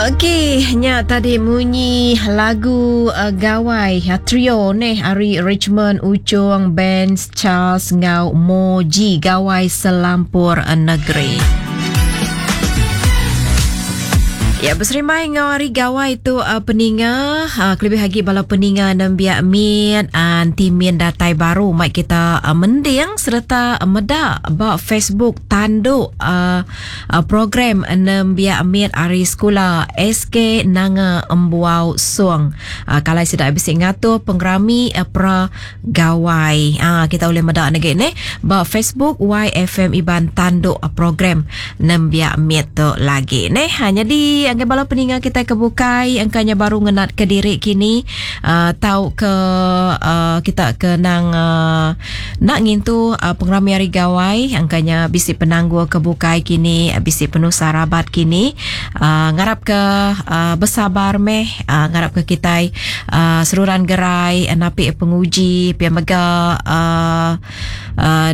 Okey, nya tadi munyi lagu uh, Gawai uh, trio neh ari Richmond Uchong Benz Charles enggau Moji Gawai Selampur Negeri. Ya beserimbai enggau hari gawai tu uh, peninga uh, kelebih agi bala peninga nembiak mit uh, enti min datai baru mai kita uh, mending sereta uh, meda ba Facebook tanduk uh, Program nembiak mit ari sekula SK Nanga Embuau Song. Kalai sida bisi ngatur pengerami pra Gawai. Kita ulih meda negi neh ba Facebook YFM Iban tanduk program nembiak mit tu lagi neh. Nyadi ngagai bala peninga kitai ke bukai engka nya baru ngenat ke diri kini tauka kita ke nang Enda ngintu pengerami Hari Gawai engka nya bisi penanggul ke bukai kini bisi penusah rabat kini ngarap ke besabar meh ngarap ke kitai seruran gerai napi penguji pia mega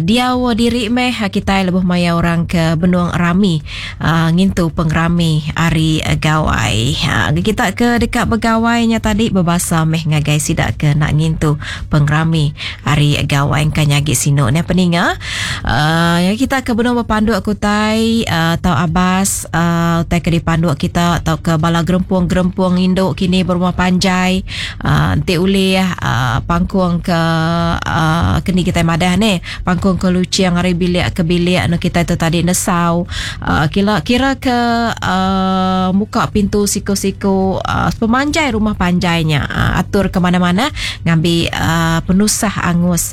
diau diri meh kitai lebuh maya orang ke benung rami ngintu pengerami Hari Gawai. Kita ke deka begawai nya tadi bebasa meh ngagai sida ke enda ngintu pengerami Hari Gawai engka nya agi sinu neh peninga. Uh, kita ke benung bepanduk ke utai uh, tau abas uh, utai ke dipanduk kita tau ke bala gerempung-gerempung indu kini berumah panjai uh, enti ulih uh, pangkung ke uh, keni kitai madah neh pangkung ke luching ari bilik ke bilik anu kitai tu tadi nesau uh, kira kira ke uh, muka pintu siku-siku uh, sepemanjai rumah panjai nya uh, atur ke mana-mana ngambi uh, penusah angus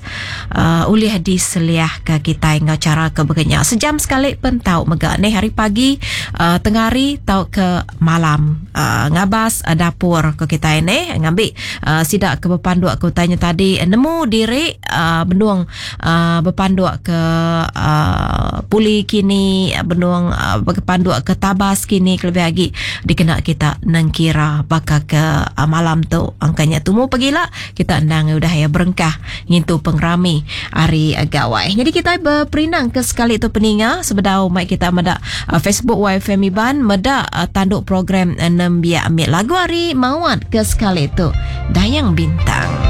uh, ulih diseliahka kitai enggau chara ke baka nya. Sejam sekali pen tau mega neh hari pagi uh, tengah hari tauka malam uh, ngabas uh, dapur ko kitai neh ngambi uh, sida ke bepanduk ke utai nya tadi nemu diri uh, benung uh, bepanduk ke uh, puli kini benung uh, bepanduk ke tabas kini kelebih agi dikena kita nengkira baka ke uh, malam tu angka nya tumu pagila kita endang udah ya berengkah ngintu pengerami hari gawai. Jadi kita beperindang ke sekali tu peninga sebedau mai kita meda uh, Facebook YFM Iban meda uh, tanduk program nembiak mit lagu hari mawat ke sekali tu Dayang Bintang.